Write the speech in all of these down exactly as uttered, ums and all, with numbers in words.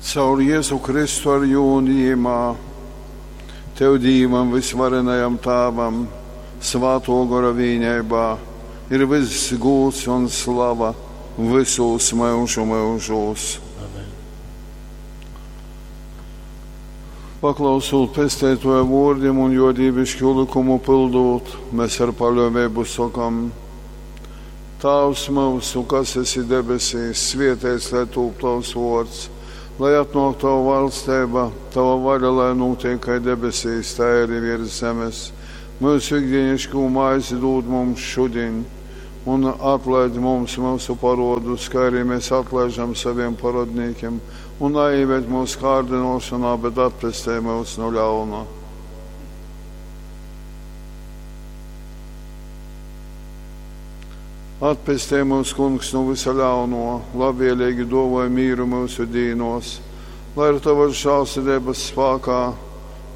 Caur Jezu Kristu ar jū un jymā, Tev, Dīvam vysvarenajam Tāvam, Svātō Gora vīneibā, ir vyss gūds un slava vysūs myužu myužūs. Amen. Paklausūt Pesteitōja vōrdim un jō dīviškū lykumu pyldūt, mēs ar paļōveibu sokam: Tāvs myusu, kas esi debesīs, svieteits lai tūp tovs vōrds, lai atnōk tova valsteiba, tova vaļa lai nūtiek kai debesīs, tai arī virs zemes. Myusu ikdienišķū maizi dūd mums šudiņ, un atlaid mums myusu parodus, kā arī mēs atlaižam saviem parodnīkiem, un neieved mūsu kārdināšanā, bet atpestej mūs no ļauna. Atpestej mūs, Kungs, no visa ļauno, labvēlīgi dāvāj mīru mūsu dīnos, lai ar tavas žēlsirdības spēkā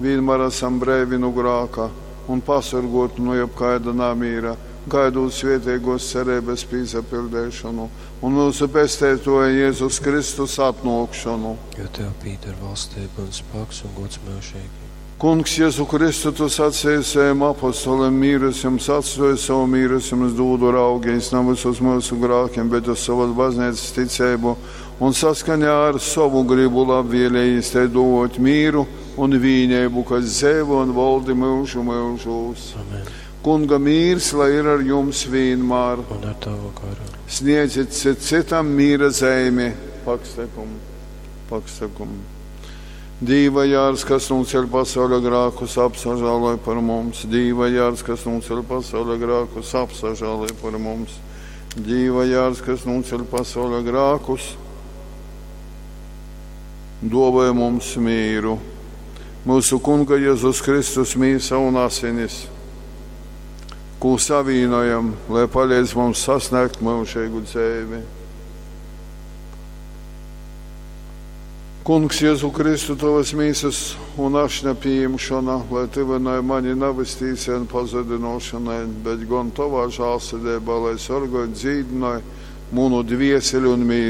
vienmēr esam breivi no grāka un pasargoti no jebkāda namīra, gaidot svētīgos cerības pīsapildīšanu un mūsu pestētoja Jēzus Kristus atnākšanu. Jo Tev pīder valstība un spēks un gods mūžīgi. Kungs, Jēzu Kristu, tu sacīji saviem apostoliem, mīrus jums atstāju, savu mīrus jums dūdu raugies, nav uz mūsu grākiem, bet uz savas baznīcas ticību un saskaņā ar savu gribu labvēlējis te dot mīru un vīnību, kas dzēvo un valdi mūžu mūžūs. Amen. Kunga mīrs, lai ir ar jums vienmēr. Un ar tavu garu. Sniedziet cit citam mīra zeimi. Pakstekum, pakstekum. Dīva jārs, kas nūceļ pasaules grākus, apsažāloj par mums. Dīva jārs, kas nūceļ pasaules grākus, apsažāloj par mums. Dīva jārs, kas nūceļ pasaules grākus, dāvāj mums mīru. Mūsu Kunga Jēzus Kristus mīsa un asinis, ko savīnojam, lai palīdz mums sasniegt mūžīgu dzīvi. Kungs, Jēzu Kristu, tavas mīsas un ašņa pieņemšana, lai tuvināja mani nevis tīsai un pazudinošanai, bet gan tavā žālsirdībā, lai sargāj, dzīdināja manu dvieseli un mīsu.